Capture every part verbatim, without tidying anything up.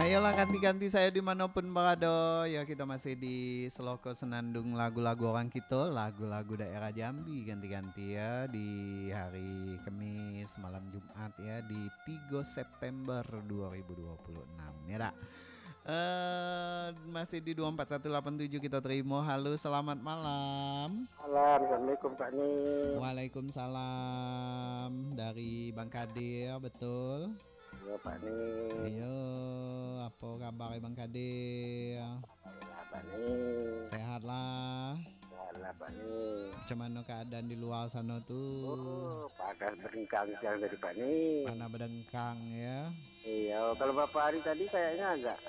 Ayolah, kanti-kanti sayo di mano pun barado. Ya, kito masih di Seloko Senandung Lagu-Lagu Orang Kito, lagu-lagu daerah Jambi, kanti-kanti ya, di hari Kamis, malam Jumat ya, di tigo September dua ribu dua puluh enam, ya dak? Eh, masih di dua empat satu lapan tujuh kita terima. Halo, selamat malam. Malam, Assalamualaikum, Pak Ni. Waalaikumsalam. Dari Bang Kadir, betul? Iya, Pak Ni. Iyo, apo kabar Bang Kadir? Baiklah, Pak Ni. Sehat lah. Sehat lah, Pak Ni. Macam mano keadaan di luar sano tu? Oh, panas badengkang siang tadi, Pak Ni. Panas badengkang, ya. Iya, kalau berapa hari tadi kayaknya agak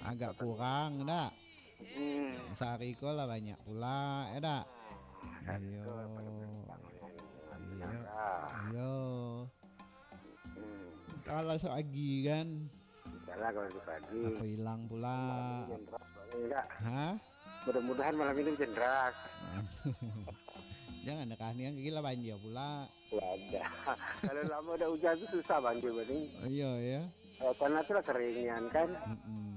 Agak kurang, dak? Hmm. Sehari ko lah banyak pula, ya dak? Sehari ko lah banyak pula. Iyo. Iyo. Hmm. Kalau sehari kan? Salah kalau sehari. Apa hilang pula? Malam ini hujan deras, Pak Ni, dak? Hah? Mudah-mudahan malam ini hujan deras. Jangan dah, kasian, gila banjir pula. Wadah. Kalau lama dak hujan tu susah banjir, Pak Ni. Iyo, ya. Eh, tanah tu lah kering nian kan. Mm-mm.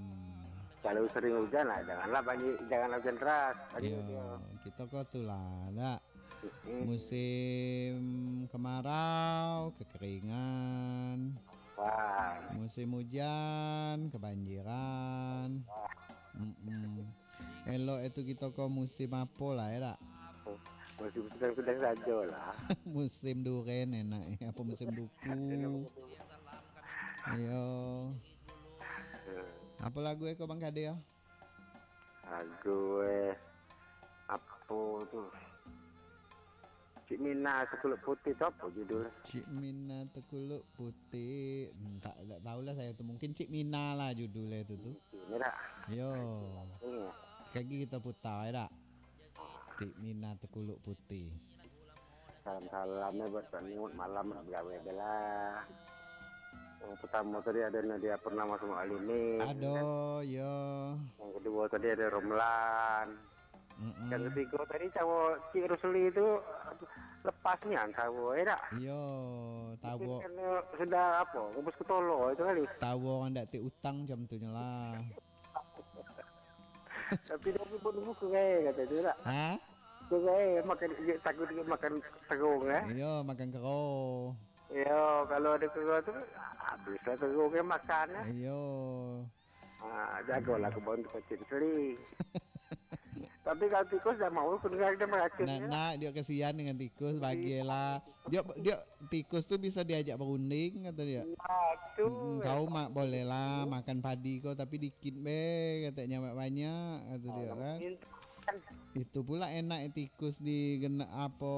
Kalau sering hujan lah, janganlah banjir, janganlah hujan deras. Banjir Iyo, dia. Kito ko tu lah, dak? Mm-mm. Musim kemarau, kekeringan. Wah. Musim hujan, kebanjiran. Wah. Mm-mm. Elok itu kito ko musim apo lah, ya dak? Musim sedang-sedang sajo lah. Musim duren enak, ya. Apa musim duku? Enak musim. Iyo. Hmm. Apa lagu eko, Bang Kadir? Lagu, eh, apo tu? Cik Mina Tekuluak Putih tu apo judulnyo? Cik Mina Tekuluak Putih. Hmm, tak, tak tahulah sayo tu. Mungkin Cik Mina lah judulnyo tu, tu. Cik Mina. Yo. Hmm. Kagi kita putar, ya dak? Cik Mina Tekuluak Putih. Salam-salam ya buat Pak Ni, malam nak begawe je lah. Yang pertama tadi ada Nadia Purnama sama Alimi. Ado, yo. Yang kedua tadi ada Romlan. Mm-mm. Yang ketiga tadi cawo Cik Rusli tu lepas nian cawo, ya dak? Iyo, mungkin tawo. Karena sudah apa, ngubus kutolo itu kali. Tawo orang dak tek utang macam tu nyo lah. Tapi dia pun buku kaya kata tu dak? Ha? Buku kaya makan, dia takut dia makan terung, eh? Iyo, makan kero. Iyo, kalau ada kero tu, habislah terung yang makan, eh? Iyo. Ah, jagolah kebun tu kecil sekali. Tapi kalau tikus dah mau, aku dengar dia meracun. Nak, ya. Nak, dia kasihan dengan tikus, bagilah. Dia, dia tikus tu bisa diajak berunding, kata dia. Nah, tu. Mm-mm, kau mak boleh lah makan padi kau, tapi dikit be, katanya banyak, kata dia kan. Itu pula enak tikus di gena-, apa,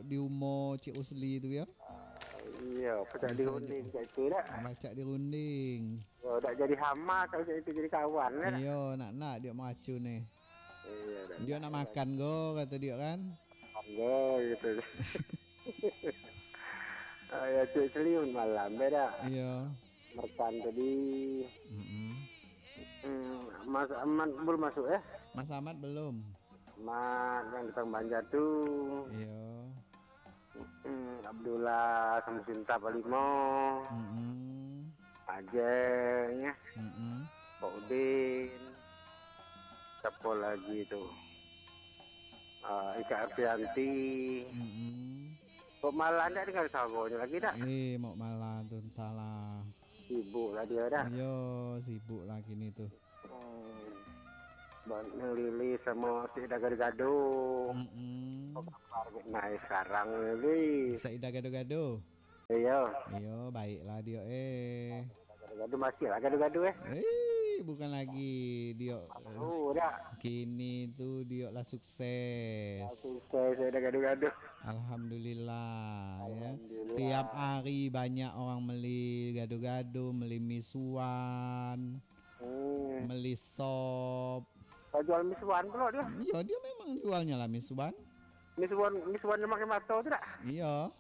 di umur Cik Usli tu ya. Iya, pacak dirunding kat itu dah. Pacak dirunding. Yo, dak jadi hama kalau cak itu jadi kawan lah. Iyo, nak, nak dia meracun ni. Iyo, dak. Dia nak makan go, kata dia kan. Makan go, gitu. Ah, ya, Cik Seliun malam, beda. Iyo. Merkan tadi. Mm-mm. Hmm, Mas Ahmad belum masuk, eh? Mas Ahmad belum. Mat yang tukang banja tu. Iyo. Mm-mm, Abdullah Samsudin Tapalimo. Mm-mm. Ajeng, ya. Mm-mm. Pak Udin. Siapa lagi tu? Ah, Ika Arfianti. Mm-mm. Kok malah ndak dengar suaranya lagi dah? Eh, mau malah tu, salah. Sibuk lah dia dah. Iyo, sibuk lah kini tu. Hmm. Bang Lili sama Saida Gado-Gado. Mm-mm. Apa kabar naik sekarang ni? Saida Gado-Gado? Iyo. Iyo, baiklah dia, eh. Gado-Gado masih lah Gado-Gado, eh. Eh, bukan lagi dia. Oh, dah. Kini tu dia lah sukses. Lah sukses, Saida Gado-Gado. Alhamdulillah, ya. Alhamdulillah. Tiap hari banyak orang meli gado-gado, meli misuan. Hmm. Meli sop. Kau jual misuan pulo dia? Iyo, dia memang jualnya lah misuan. Misuan, misuan yang pakai mato tu dak? Iyo.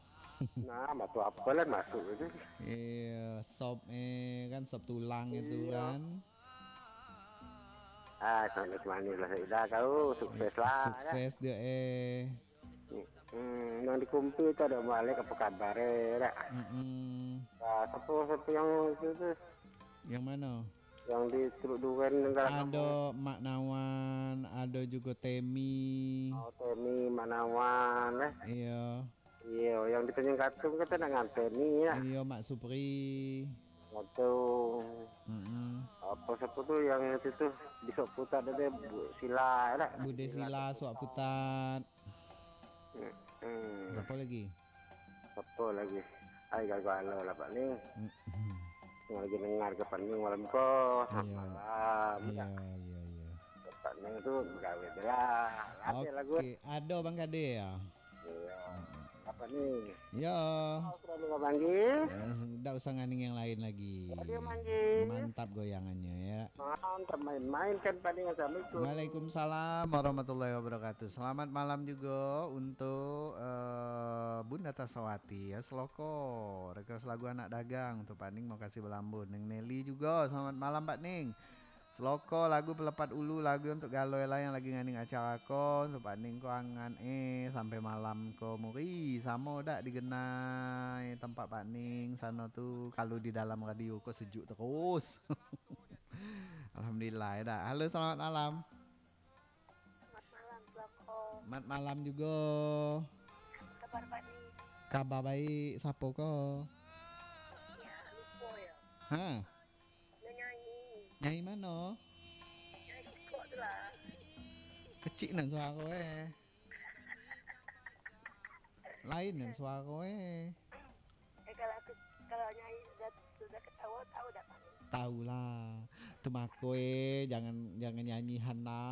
Nah, mato apa lah masuk itu? Iyo, sop, eh, kan sop tulang itu kan. Ah, manis-manis lah Saida kau, sukses lah. Sukses dia, eh. Hmm, yang di Kumpi tu ada Malik, apa kabar, eh, dak? Mm-mm. Ah, siapa, siapa yang itu tu? Yang mana? Yang di Teluk Duren, Nenggara Ado Mak Nawan, ado jugo Temi. Oh, Temi, Mak Nawan, eh. Iyo. Iyo, yang di Tanjung Katung kata nak nganten ni, ya. Iyo, Mak Supri. Katung. Mm-mm. Apa siapa tu yang itu tu? Di Suak Putat ada Bu Sila, ada. Bude Sila, Suak Putat. Hmm. Apa lagi? Apa lagi? Ai, gagal lah, Pak ni. Mm-mm. Yang lagi dengar ke Pak ni malam ko. Iya. Malam. Iya, Ya. iya, iya. Pak ni tu begawe je lah. Ada lagu. Oke, ado Bang Kade ya. Iya. Apa ni? Ya. Oh, sudah dengar panggil. Eh, Ndak usah nganing yang lain lagi. Dia manggil. Mantap goyangannya ya. Mantap main-main kan Pak ni. Assalamualaikum. Waalaikumsalam warahmatullahi wabarakatuh. Selamat malam juga untuk uh, Bunda Tasawati ya, Seloko. Request lagu Anak Dagang tu Pak Ning, makasih balambun. Neng Nelly juga, selamat malam Pak Ning. Seloko lagu Pelepat Ulu, lagu untuk galoi lah yang lagi nganing acara ko. Untuk Pak Ning ko angan eh sampai malam ko muri. Samo dak digenai tempat Pak Ning sano tu, kalau di dalam radio ko sejuk terus. Alhamdulillah ya dak. Halo, selamat malam. Selamat malam, Bang Ko. Mat malam juga. Kabar Pak ni? Kabar baik. Siapa ko? Ya, lupa ya. Ha, Dia nyanyi. nyai mano? Nyanyi sikok tu lah. Kecik nan suara eh. Lain nan suara eh. Eh, kalau aku, kalau nyanyi sudah, sudah ketawa, tahu dah Pak ni? Tahulah. Tu mako eh, jangan jangan nyanyi Hana.